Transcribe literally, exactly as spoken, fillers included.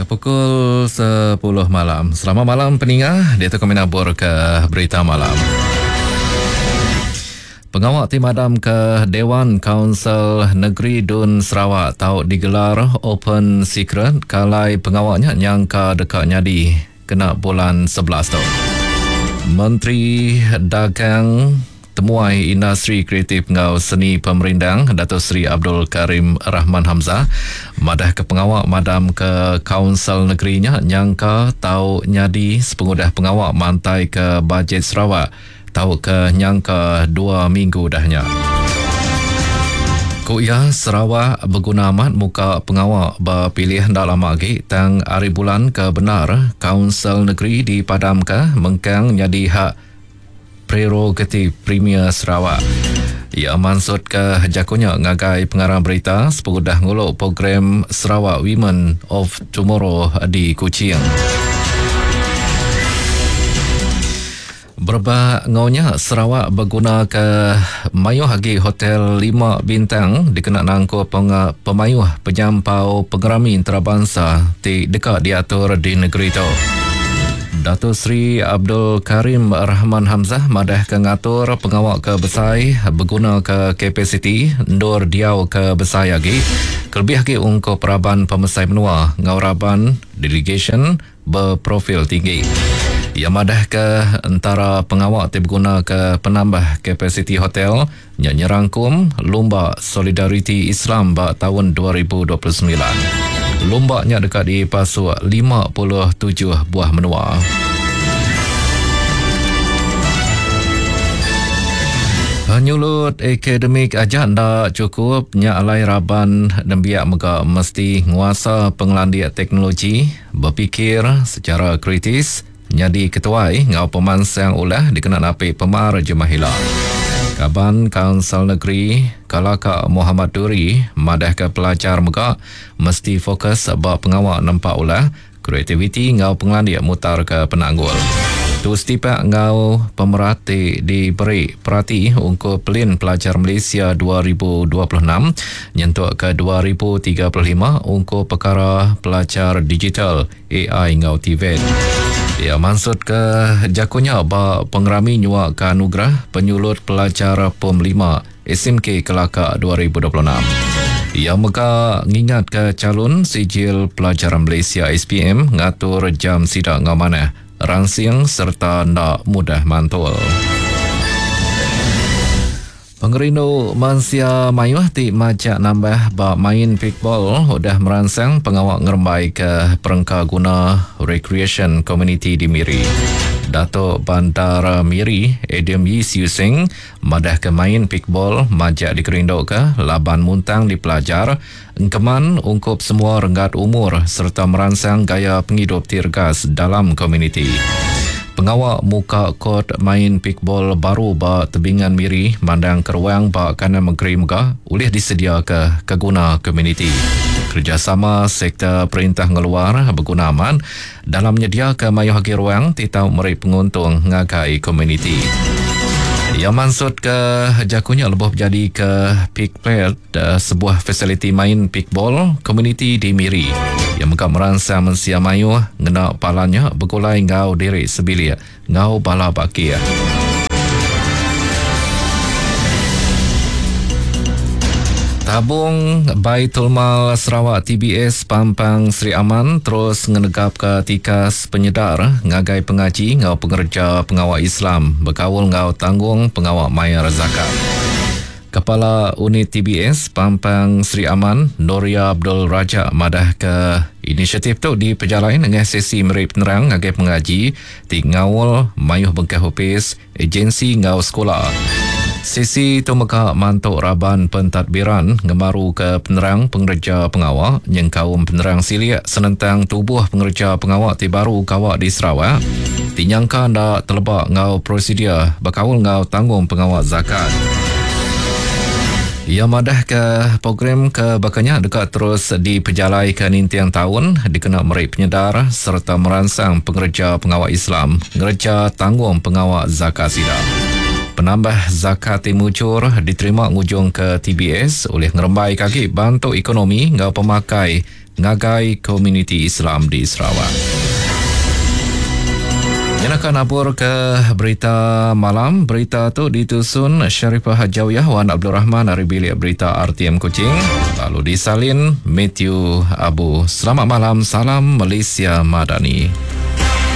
Pukul sepuluh malam. Selamat malam peninga, dia tu kami nabur ke berita malam. Pengawal ti madam ke Dewan Kaunsil Negeri Dun Sarawak tau digelar open secret kalai pengawalnya nyangka dekat nyadi kena bulan sebelas tu. Menteri Dagang Temuai Industri Kreatif ngau Seni Pemerindang Dato' Seri Abdul Karim Rahman Hamzah madah ke pengawal madam ke Kaunsil Negerinya nyangka tau nyadi sepengudah pengawal mantai ke bajet Sarawak tau ke nyangka dua minggu dahnya. Ku ia Sarawak berguna amat muka pengawal berpilih ndak lama lagi tang hari bulan ke benar Kaunsil Negeri dipadam ke mengkang jadi hak prerogatif Premier Sarawak. Ia maksud ke jakunya ngagai pengarang berita sepengudah nguluk program Sarawak Women of Tomorrow di Kuching. Berbak ngonya Sarawak berguna ke mayuh agi hotel lima bintang dikena nangkup pemayuh penyampau pengerami antarabangsa ti dekat diatur di negeri tu. Dato' Seri Abdul Karim Rahman Hamzah madah ke ngatur pengawal ke besai berguna ke kapasiti ndur diau ke besai lagi kelebih lagi ungkup peraban pemesai menua ngau raban delegation berprofil tinggi. Ia madah ke antara pengawal ti berguna ke penambah kapasiti hotel nyerangkum Lumba Solidariti Islam ba tahun dua ribu dua puluh sembilan. Lumbaknya dekat di pasuk lima puluh tujuh buah menua. Nyulut akademik aja ndak cukup nya alai raban nembiak mega mesti nguasa pengelandik teknologi, berfikir secara kritis, jadi ketuai ngau pemansang ulah dikena napi pemar jemahila. Kaban Kaunsil Negeri Kalaka Muhammad Duri madah ke pelajar mega mesti fokus ba pengawal nempak ulah kreativiti ngau pengelandik mutar ke penanggul. Tu setipak ngau pemerati diberi perhati ungkup Pelin Pelajar Malaysia dua ribu dua puluh enam nyentuk ke dua ribu tiga puluh lima ungkup perkara pelajar digital A I ngau T V E T. Ia maksud ke jakunya ba pengerami nyuak ke anugerah penyulut pelajar P O M lima S M K Kelaka dua ribu dua puluh enam. Ia mega ngingat ke calon sijil pelajaran Malaysia S P M ngatur jam sidak ngau manah, rangsing serta ndak mudah mantul. Pengerindu mansia mayuh ti majak nambah ba main pickball udah merangsang pengawal ngerembai ke perengka guna recreation community di Miri. Datuk Bandar Miri Adam Yii Siew Seng madah ke main pickball majak dikerindu ke laban muntang dipelajar engkeman ungkup semua renggat umur serta merangsang gaya penghidup tirgas dalam komuniti. Pengawal muka kod main pickball baru ba tebingan Miri mandang keruang ba kanan negeri mega boleh disedia ke keguna komuniti. Kerjasama sektor perintah ngeluar berguna aman dalam menyediakan mayuh agi ruang ti tau meri penguntung ngagai komuniti. Ia maksud ke jakunya lebih jadi ke pick plate sebuah fasiliti main pickball komuniti di Miri. Yang mega merangsang mensia mayuh ngena palanya bergulai ngau diri sebilik ngau bala bakir. Tabung Baitul Mal Sarawak T B S Pampang Sri Aman terus ngenegap ke tikas penyedar ngagai pengaji ngau pengerja pengawal Islam berkaul ngau tanggung pengawal mayar zakat. Kepala Unit T B S Pampang Sri Aman Noria Abdul Raja madah ke inisiatif tu diperjalain dengan sesi meri penerang ngagai pengaji ti ngaul mayuh bengkah ofis agensi ngau sekolah. Sesi tu mega mantuk raban pentadbiran ngemaru ke penerang pengerja pengawal nyengkaum penerang siliak senentang tubuh pengerja pengawal ti baru kawak di Sarawak ti nyangka ndak telebak ngau prosedur berkaul ngau tanggung pengawal zakat. Ia madah ke program ke bakanya dekat terus diperjalaikan nintiang tahun dikena meri penyedar serta merangsang pengerja pengawal Islam ngerja tanggung pengawal zakat sida. Penambah zakat timucur diterima ngujung ke T B S oleh ngerembai kaki bantu ekonomi ngau pemakai ngagai komuniti Islam di Sarawak. Nyenaka nabur ke berita malam. Berita tu ditusun Sharifah Hajawiyah Wan Abdul Rahman dari Bilik Berita R T M Kuching. Lalu disalin Matthew Abu. Selamat malam, salam Malaysia Madani.